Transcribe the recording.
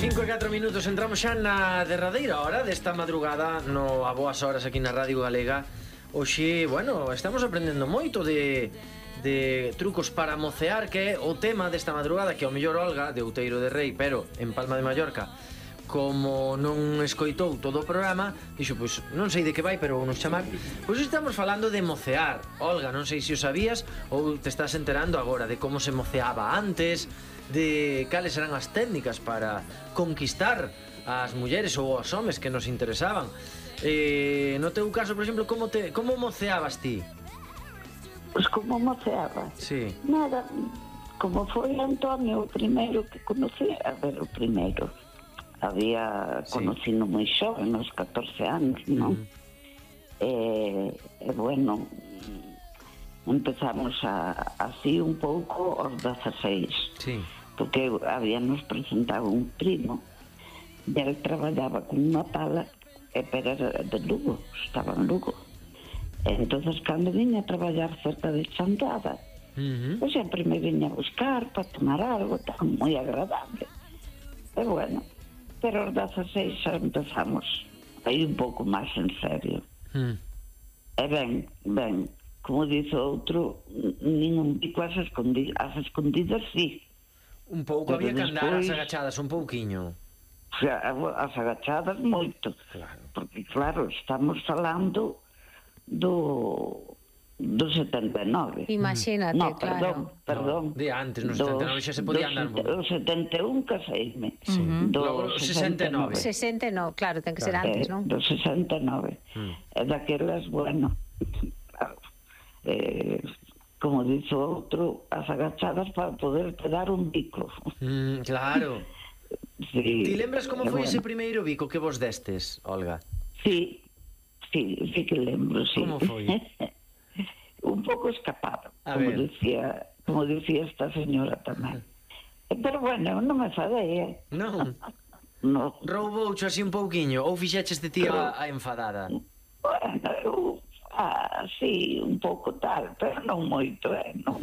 5:04, entramos xa na derradeira hora desta madrugada no A Boas Horas aquí na Radio Galega. Hoxe, bueno, estamos aprendendo moito de trucos para mocear, que é o tema desta madrugada, que ao mellor Olga, de Outeiro de Rei, pero en Palma de Mallorca, como non escoitou todo o programa, dixo, pois, non sei de que vai, pero nos chamar. Pois estamos falando de mocear. Olga, non sei se o sabías ou te estás enterando agora de como se moceaba antes, de cales eran as técnicas para conquistar as mulleres ou os homes que nos interesaban. No teu caso, por exemplo, como moceabas ti? Pois como moceaba? Sí. Nada, como foi Antonio o primeiro que conocí, a ver, o primeiro. Había conocido moi xoven, nos 14 anos, non? E bueno, empezamos así un pouco aos 16. Sí. Porque habíamos presentado un primo e ele traballaba con unha pala, pero era de Lugo, estaba en Lugo. Entonces, cando viña a traballar cerca de Chantada, pues sempre me viña a buscar para tomar algo, tan moi agradable. E bueno, pero aos 16 xa empezamos aí un pouco máis en serio. E ben, como dice outro, ningún bico as escondidas, sí. Un pouco había que andar as agachadas, un pouquiño. As agachadas moito, claro. Porque claro, estamos falando do 79. Imagínate, no, claro. Perdón. De antes, no 79 xa se podía andar. O 71 caseime. Do 69. 69, claro, ten que ser antes, non? Do 69. E daquelas, bueno, claro, como dice outro, as agachadas para poder dar un bico. Claro. Sí. Ti lembras como foi ese primeiro bico que vos destes, Olga? Sí que lembro, sí. Como foi? Un pouco escapado, como decía esta señora tamén. Pero bueno, non me fadei, Non? No. Rouboucho así un pouquiño, ou fixeches de ti a enfadada? Bueno, sí, un pouco tal, pero non moito, non moito.